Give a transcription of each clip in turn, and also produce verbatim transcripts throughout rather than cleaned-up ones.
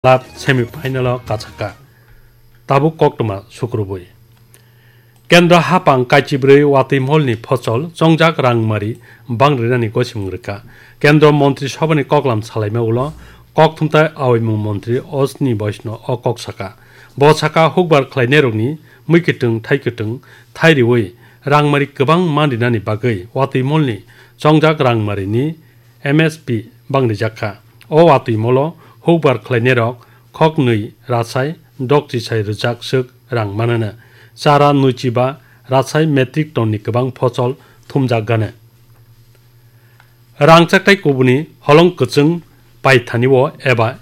club semi final o kachaka. Tabuk koktwma sukrubwi. Kendra hapang kaichibrwi watwi molni phosol chongjak rangmari bang rinani gosimung rwkha. Kendra Montri Sabhani koklam salaima ulo kokthumtai aoimung montri Osni Boisno o kok saka. Bo saka hukbar khlainairokni mwikwtwng thaikwtwng thai riwi rangmari kwbang man rinani bagwi watwi molni chongjak rangmarini M S P bang rijak kha. O watwi molo hukbar khlainairok khoknwi rasai dokchisai rwchak swk rang manana. Chara nwichiba rasai metric ton ni kwbang phosol thumjak gana. Rangchak tai kubuni holong kwchwng paithani o eba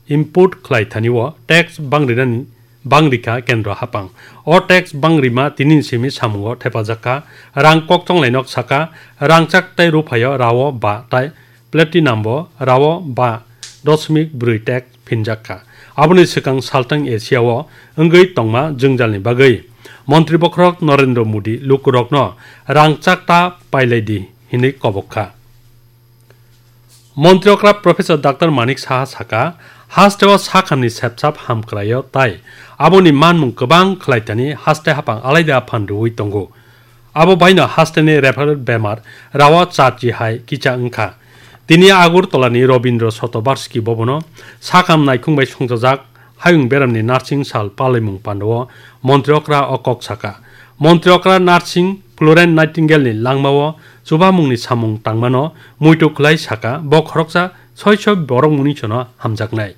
import khlai thani o tax bang rinani bang rikha kendro hapang. O tax bang rima tini simi samungo thepajak kha. Rang kok chonglai nok saka rangchak tai ruphaio rao ba tai platinum bo rao ba dosmik brwi tax phinjak kha. Aboni swkang saltang Asia o wngwi tongma jwngjalni bagwi Montri Bokhorok Narendra Modi lukurokno rangchak ta pailai di hinwi kobok kha. Montri okra Professor Doctor Manik Saha saka, hasteo sakhamni sepsap hamkraio tai aboni manmung kwbang khlaithani haste hapang alaida phan rwui tongo. Abo baino hasteni referral bemar rao charchi hai kicha wngkha. Tini Agartala ni Rabindra Shatovarshiki Bhavan o sakham naikhung bai songchajak hayung beramni nursing sal palaimung pandao montri okra o kok saka. Montri okra nursing Florence Nightingale ni langmao chubamungni samung tangmano muitu khlai saka, bo khoroksa soiso borok mungni sono hamjaknai.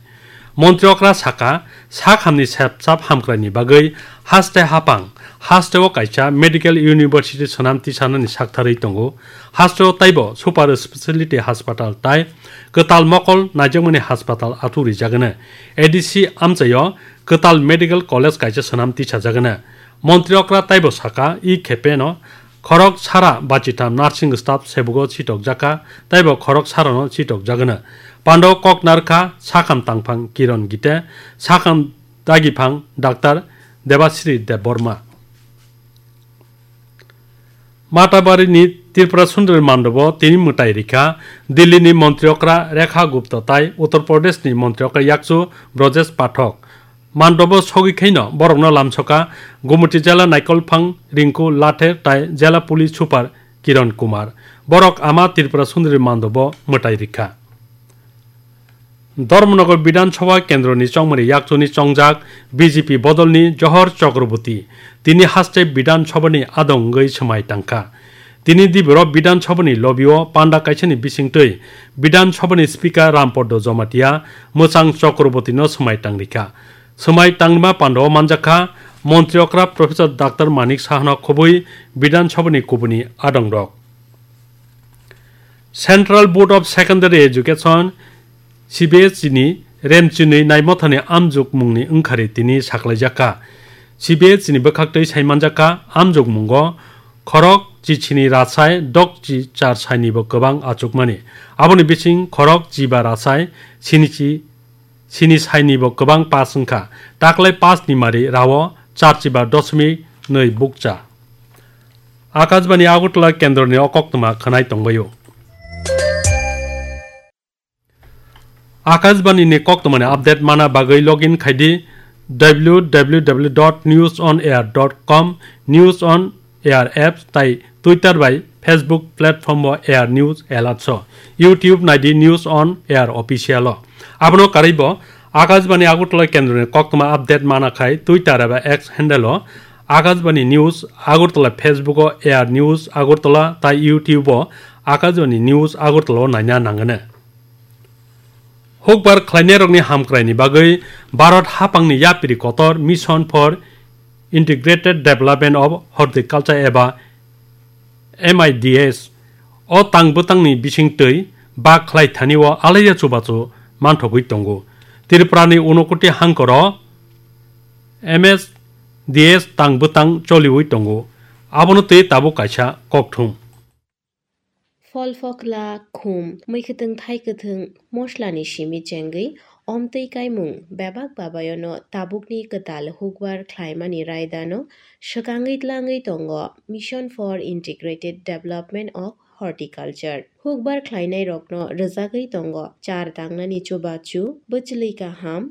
Montri okra saka, sakhamni sepsap hamkraini bagwi haste hapang, hasteo kaisa medical university swnam tisanani saktharwi tongo. Hasteo taibo super speciality hospital tai kwtal mokol naijakmani hospital athuk rijagana. A D C amchaio kwtal medical college kaisa swnam tisajagana. Montri okra taibo saka, i khepeno khorok sara bachitham nursing staff sebugo sitokjakha, taibo khorok sarano sitokjagana. Pando kok narkha sakham tangphang Kiron Gite, sakham dagiphang Doctor Debasri Debbarma. Matabari ni Tripura Sundari Mandobo tini mwtai rikha Delhi ni Montri okra Rekha Gupta tai Uttar Pradesh ni Montri okra yakchu Brojesh Pathak. Mandobo sogwi khaino borokno lamsoka Gumoti jela Naikolphang Rinku Lathe tai jela police super Kiran Kumar. Borok ama Tripura Sundari Mandobo mwtai rikha. Dharmanagar Bidhan Sabha kendroni chongmani yakchuni chongjak B J P bodolni Johor Chakraborty tini haste Bidhan Sabhani adong wngwi swmai tangkha. Tini diboro Bidhan Sabhani lobby-o panda kaisani bisingtwi Bidhan Sabhani Speaker Rampaddo Jamatia mwchang Chakraborty-no swmai tangrikha. Swmai tangrima pandao manjakha Montri okra Professor Doctor Manik Sahano khobwi Bidhan Sabhani kubuni adongrok. Central Board of Secondary Education, C B S E ni remchinwi naimothani amjokmungni wngkhari tini saklaijakha. C B S E ni bwkhaktwi saimanjakha amjokmungo khorok chichini rasai dokchi char sainibo kwbang achukmani. Aboni bising khorok chiba rasai sinichi sini sainibo kwbang pass wngkha. Taklai pass ni mari rao charchiba dosmik nwi bukcha. Akashbani Agartala kendroni o koktwma khwnai tongbaio. Akashbani ni koktwmani update mana bagwi login khaidi W W W dot news on air dot com, News on Air apps tai Twitter bai Facebook platform o Air News Alerts o, YouTube naidi News on Air Official o. Abono karwibo Akashbani Agartala kendroni koktwma update mana khai Twitter eba X handle o Akashbani News Agartala, Facebook o Air News Agartala tai YouTube o Akashbani News Agartala o naina nangani. Hukbar khlainairokni hamkraini bagwi Bharat hapangni yapri kotor Mission for Integrated Development of Horticulture eba M I D S o tang bwtangni bisingtwi bak khlai thani o alaiya chubachu manthogwi tongo. Tripurani Unakoti hangkoro M S D S tang bwtang choliwi tongo. Abono twi tabuk kaisa kokthum. Phol phokla, khum, mwikhwtwng thaikwthwng, moslani simi chengwi omtwi kaimung bebak babayono tabukni kwtal hukbar khlaimani raidano swkangwi tlangwi tongo Mission for Integrated Development of Horticulture. Hukbar khlainairokno rwjagwi tongo char tangnani chubachu, bwchwlwi kaham,